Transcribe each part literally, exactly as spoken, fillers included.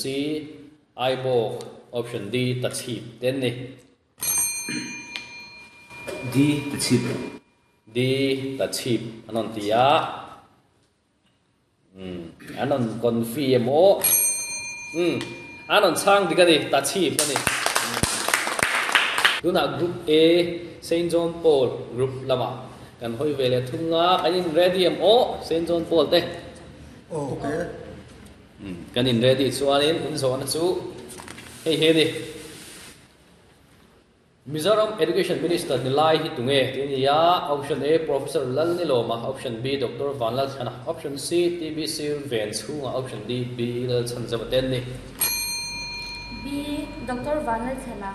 C Aibawk, option D Tachhip te an ni. D Tachhip. D Tachhip an rawn ti a. Umm an rawn confi em aw. Umm an rawn chhang dik a ni, Tachhip a ni. Tunah Group A Saint John Paul Group lamah kan hawi ve leh thung a, kan in ready em aw Saint John Paul te. Aw okay. Umm kan in ready chuanin in zawhna chu hei hi a ni. Mizoram Education Minister ni lai hi tunge tih a ni a, Option A Professor Lalnilawma, Option B Doctor Vanlalthlana, Option C T B C Ven chhunga, Option D B Lalchhanzova te an ni. B Doctor Vanlalthlana.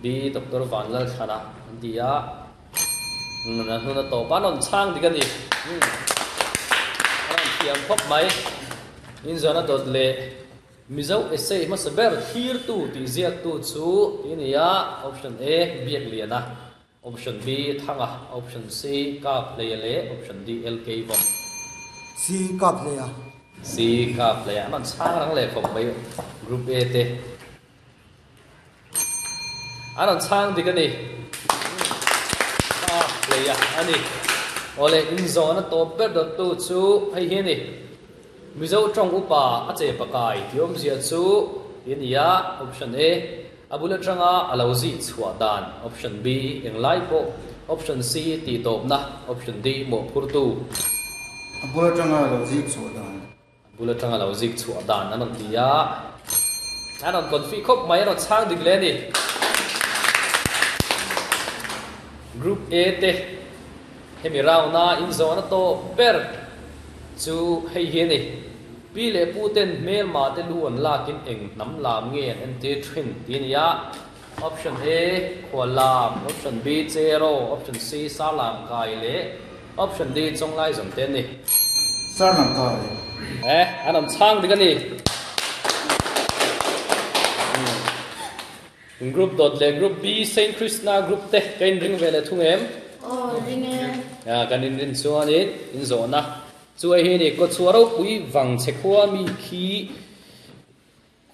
B Doctor Vanlalthlana an ti a, a hnuna tawp a rawn chhang dik a ni. A rawn thiam khawp mai. Inzawna dawt leh. Mizo essay hmasa ber thlirtu tih ziaktu chu i ni a, Option A, Biakliana, Option B, Thanga, Option C, Kaphleia leh Option D, L K Vawm. C, Kaphleia. C, Kaphleia. An rawn chhang rang leh khawp mai Group A te. An rawn chhang dik a ni. Kaphleia a ni. Awle, inzawhna tawp ber dawttu chu hei hi a ni. Mizo tawng upa a che pakai tih awmzia chu i ni a, Option A, a bul atanga a lo zih chhuah dan, Option B, englai pawh, Option C, tih tawpna, Option D, mawhphurtu. A bul atanga a lo zik chhuah dan. A bul atanga a lo zik chhuah dan an rawn ti a, an rawn confi khawp mai, an rawn chhang dik hle a ni. Group A te hemi round a inzawhna tawp ber. Chu hei hi a ni. Pi leh pu ten hmelma te lu an lakin eng hnam lam nge an entir thin tih a ni a. Option A, Khua lam, Option B, Chero, Option C, Sar lam kai leh Option D, Chawnglai zawm te an ni. Sar lam kai. E, an awm chhang dik a ni. Group dawt leh Group B, Saint Krishna Group te ka inring ve leh thung em? Aw, ring e. A, kan inrin chuanin inzawhna chu hei hi a ni, Kawchhuah ropui vang chhe khua mi khi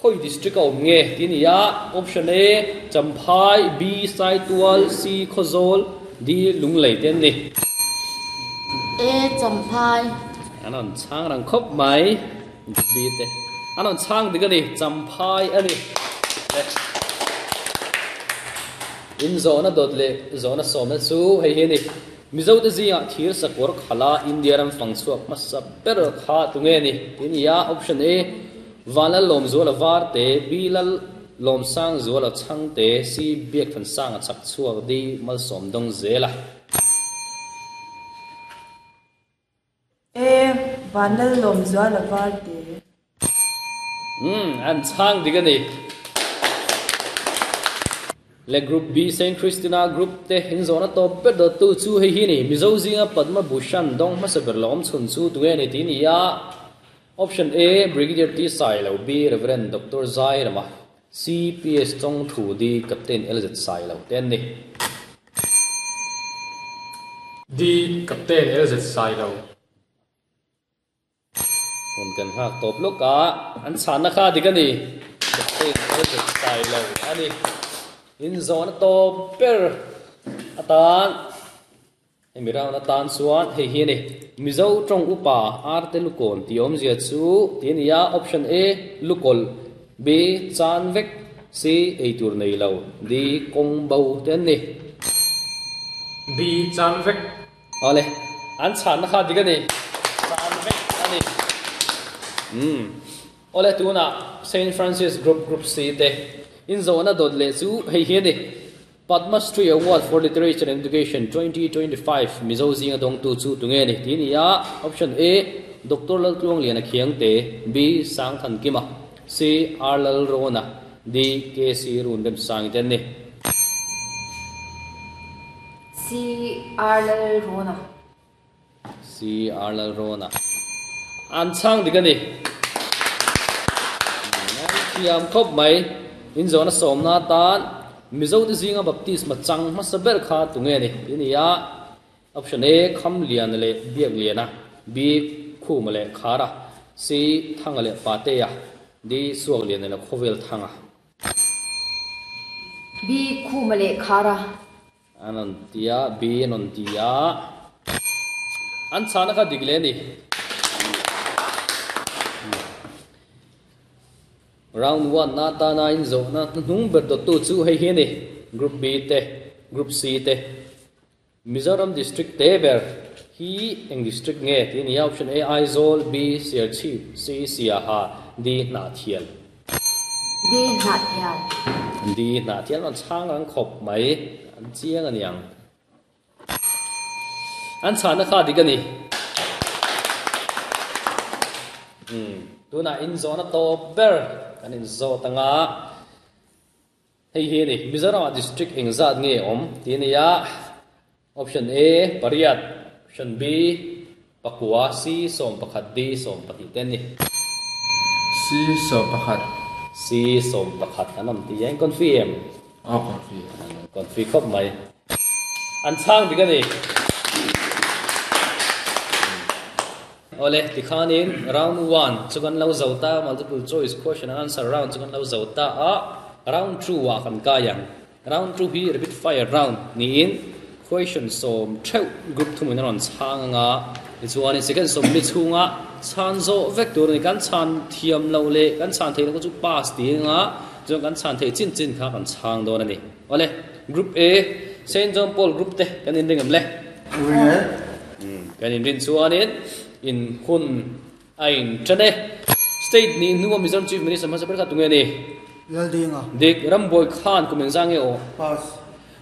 khawi district a awm nge tih a ni a, Option A, Champhai, B, Saitual, C, Khawzawl, D, Lunglei te an ni. A, Champhai. An rawn chhang rang khawp mai. B te an rawn chhang dik a ni, Champhai a ni. In zawhna dawt leh zawhna sawmna chu hei hi a ni, Mizo te zingah thir sakawr khala India ram fang chhuak hmasa ber kha tunge ni tih a ni a, Option A, Vanlal Lawmzuala Varte, B Lal Lawmsang Zuala Chhangte, C Biakthansanga chhak chhuak, D Malsawm Dawng Zela. E, Vanlal Zuala Varte. Umm, an chhang dik a ni. Le Group B Saint Christina Group te in zawhna tawp ber dawttu chu hei hi a ni. Mizo zinga Padma Bhushan dawng hmasa ber lawm chhun chu tunge a ni tih a ni a. Option A, Brigadier T Sailo, B Reverend Doctor Zairama, C P S Chawng Thu, D Captain L Z Sailo te an ni. D Captain L Z Sailo. Hun kan nghak tawp lawk a, an chhanna kha dik a ni. Captain L Z Sailo a ni. Inzawhna tawp ber atan hemi round atan chuan hei hi a ni. Mizo tawng upa Arte Lukawn tih awmzia chu tih a ni a, Option A, Lukawlh, B, Chan vek, C, Eitur nei lo, D, Kawng bo te an ni. B, Chan vek. Awle, an chhanna kha dik a ni. Chan vek a ni. Umm. Awle, tunah Saint Francis Group, Group C te inzawhna dawt leh chu hei hi a ni. Padma Shri Award for Literature and Education twenty twenty five Mizo zinga dawngtu chu tunge a ni tih a ni a, Option A, Doctor Laltluangliana Khiangte, B, Sangthankima, C, R Lalrawna, D, K C Runremsangi te an ni. C, R Lalrawna. C, R Lalrawna. An chhang dik a ni. Thiam khawp mai. Inzawhna sawmna atan Mizote zinga baptisma chang hmasa ber kha tunge a ni tih a ni a. Option A, Khamliana leh Biakliana, B, Khuma leh Khara, C, Thanga leh Patea, D suak lian la khovel thanga B khuma le khara anon tia B anon tia an chana kha digle ni round one na ta na in zo na nung ber do tu chu hei hi ni group B te group C te Mizoram district te ber hi eng district nge ti ni option A Aizawl B Serchhip C Siaha D Hnahthial D Hnahthial D Hnahthial an chang ang khop mai an chiang aniang an chana kha dik ani um tuna in zona to ber an in zo tanga hei hi ni Mizoram district engzat nge om ti nia option A pariat option B pakua C som pakhat D som pahnih ten ni C som pakhat C som pakhat anam ti yang confirm a confirm confirm khop mai an chang dik ani ole tikhanin round one chukan lo zota multiple choice question and answer round chukan lo zota a round two wa kan kayang round two hi rapid fire round ni in question som theu group thumin ron changa chuan second som mi chunga chan zo vek tur ni kan chan thiam lo le kan chan thei lo chu pass ti nga chu kan chan thei chin chin kha kan chang don ani ole group A Saint John Paul group te kan in ringam le kan in rin chuanin in hun ain chane state ni nuwa Mizoram chief minister ma saper kha tunge ni Laldinga dik Ramboy Khan kumen zange o pass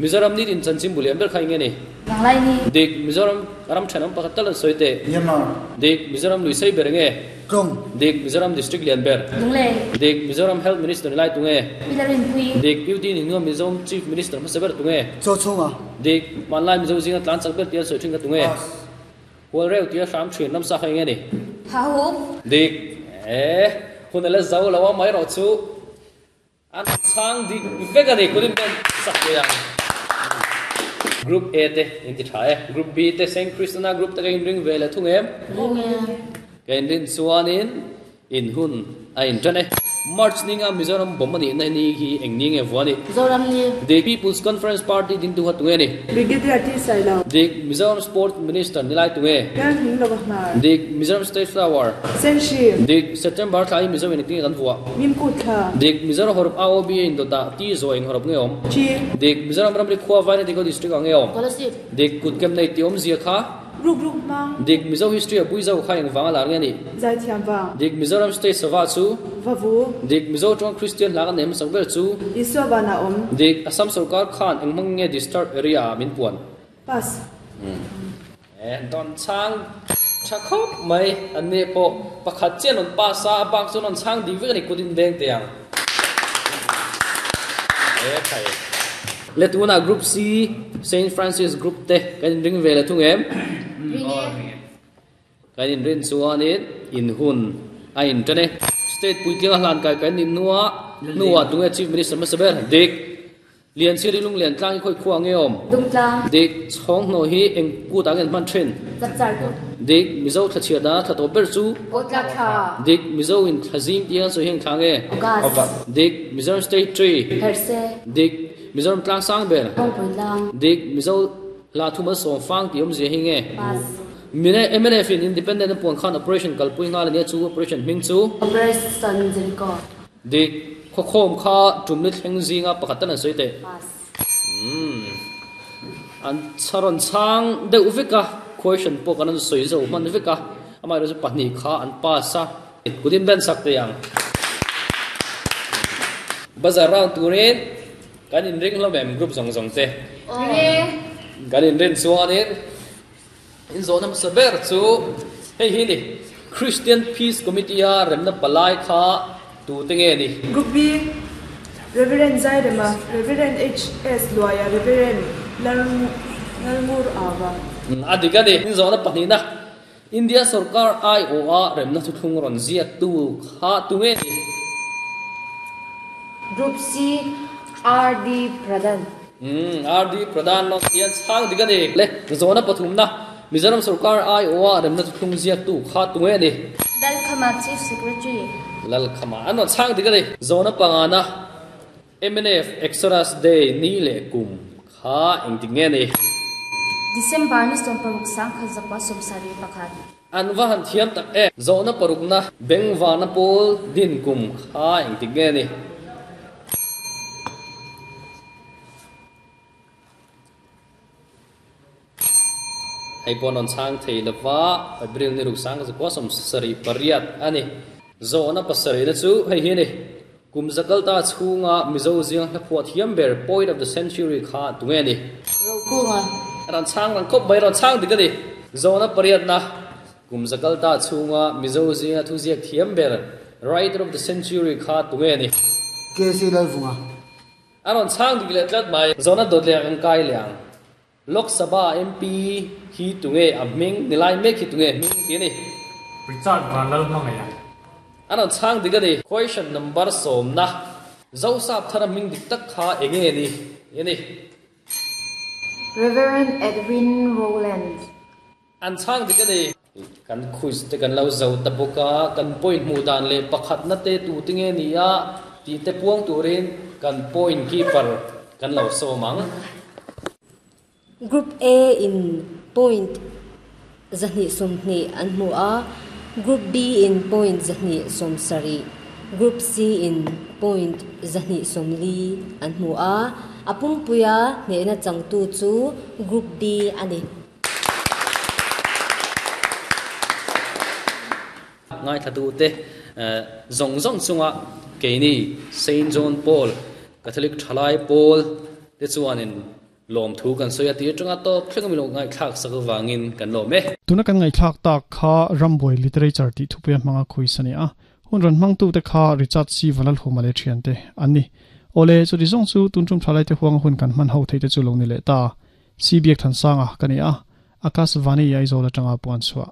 Mizoram ni din chanchim buli amber khai nge ni Banglai ni dik Mizoram ram thanam pakhat tal soite Myanmar dik Mizoram luisai berenge Tong dik Mizoram district lian ber Lunglei dik Mizoram health minister ni lai tunge Pilarin pui dik U T ni nuwa Mizoram chief minister ma saper tunge Cho chunga dik manlai Mizo zinga tlan chak ber tial soi thinga tunge pass wal reu tia sham thin nam sa khai nge ni Ha hu dik eh hun la zau lawa mai ro chu an chang dik vega ni kulim ben sak ya group A te in ti thae group B te Saint Christina group te in ring ve la thung em ring e ka in rin chuanin in hun a in tane March ninga Mizoram bomani na ni hi eng ni nge vani Zoram ni the People's Conference Party din tu hatunge ni Brigadier T Sailo dik Mizoram Sport Minister nilai tunge Kan hing lo ma dik Mizoram State Flower Senshi dik September thlai Mizoram in ting kan vua Mim ku tha dik Mizoram horop A O B in dota ti zo ing horop nge om Chi dik Mizoram ramri khwa vai ni diko district ange om Kolasib dik kut kem nei ti om zia kha ruk ruk mang dik Mizo history a bui zo kha ing wanga lar nge ni zai thiam wang dik Mizoram State Sava chu vavu dik Mizo tong Christian la kan nem sakber chu Isua bana om dik Assam sarkar khan engmang nge district area min puan pass eh don chang chakhop mai anne po pakhat chen on pa sa bang chun on chang dik vek ni kudin beng te yang eh khai le tuna group C Saint Francis group te kan ring ve la thung em ring e kan in rin chuanin in hun a in tane state puitling a hlan kai kan in nuwa nuwa tunge chief minister ma saber dik lian chiri lung lian tlang khoi khuwa nge om Dungtlang dik chhong no hi eng ku ta ngen man thin Chapchar ku dik Mizo thachia da thato ber chu Potla tha dik Mizo in thazim tiang so heng thang e August dik Mizoram state tree Herse dik Mizoram tlang sang ber Kongpui lang dik Mizo la thuma som fang ti om je hi nge pass mine M N F in independent puan khan operation kalpui nga le chu operation ming chu Operation Jericho dik khokhom kha tumni thleng zinga pakhatan an soite pass um an charon chang deuh veka question pawh kan an sawi zo hman veka amah erawh chu pahnih kha an pass a kudin ben sak te ang bazar round turin kan in ring hlawm em group zawng zawng te ring e kan in rin chuanin in zawhna hmasa ber chu hei hi ni Christian Peace Committee a remna palai kha tu te nge ni Group B Reverend Zairema Reverend H S Luaya Reverend Lalngur Ava a dik ani in zawhna pahnih na India sarkar I O a remna thu thlung rawn ziak tu kha tu nge ni Group C R D Pradhan um R D Pradhan lo tian chang dik ani le zawhna pathum na Mizoram sarkar I O a remna thu thlung ziak tu kha tu nge ni Dalkhama Chief Secretary Lal khama an rawn chhang dik a ni. Zawhna pangana M N F Exodus Day ni leh kum kha engtik nge ni? December ni sawm paruk sang khat zakua sawm sarih pakhat. An va han thiam tak e. Zawhna parukna Bengvana pawl din kum kha engtik nge ni? Hei pawh rawn chhang thei lova April ni ruk sang zakua sawm sarih pariat a ni. Zawhna pasarihna chu hei hi a ni. Kum zakal ta chhunga Mizo ziang hla phuah thiam ber Poet of the Century kha tunge ni? Rokunga. Rawn chhang rang khawp mai rawn chhang dik a ni. Zawhna pariatna kum zakal ta chhunga Mizo ziang thu ziak thiam ber Writer of the Century kha tunge ni? K C Lalvunga. A rawn chhang dik leh tlat mai. Zawhna dawt leh ang kai liang. Lok Sabha M P hi tunge a hming nilai mek hi tunge hming ti ni? Richard Vanlal Hmangaiah. A rawn chhang dik a ni. Question number sawmna Zosap thara hming dik tak kha enge ni? Ni. Reverend Edwin Rowland. An chhang dik a ni. Kan quiz te kan lo zo ta bawka kan point hmu dan leh pakhat na te tu te nge ni a ti te puang turin kan point keeper kan lo sawm ang. Group A in point zahnih sawmhnih an hmu a, Group B in point zahnih sawm sarih, Group C in point zahnih sawmli an hmu a, a pumpuia hnehna changtu chu Group B a ni. Ngai thatu te zong zong chunga keini Saint John Paul Catholic Thalai Paul te chuanin lom thu kan soya ti tanga top thleng mi lo ngai thlak sak wangin kan lo me. Tuna kan ngai thlak tak kha Ramboy literature ti thupuia hmanga khuisani a hun ran hmang tu te kha Richard C Vanal humale thian te anni ole chu di zong chu tun tum thalai te huang hun kan man ho thei te chu lo ni le ta C B than sanga kani a Akas Vani yai zola tanga puan chua.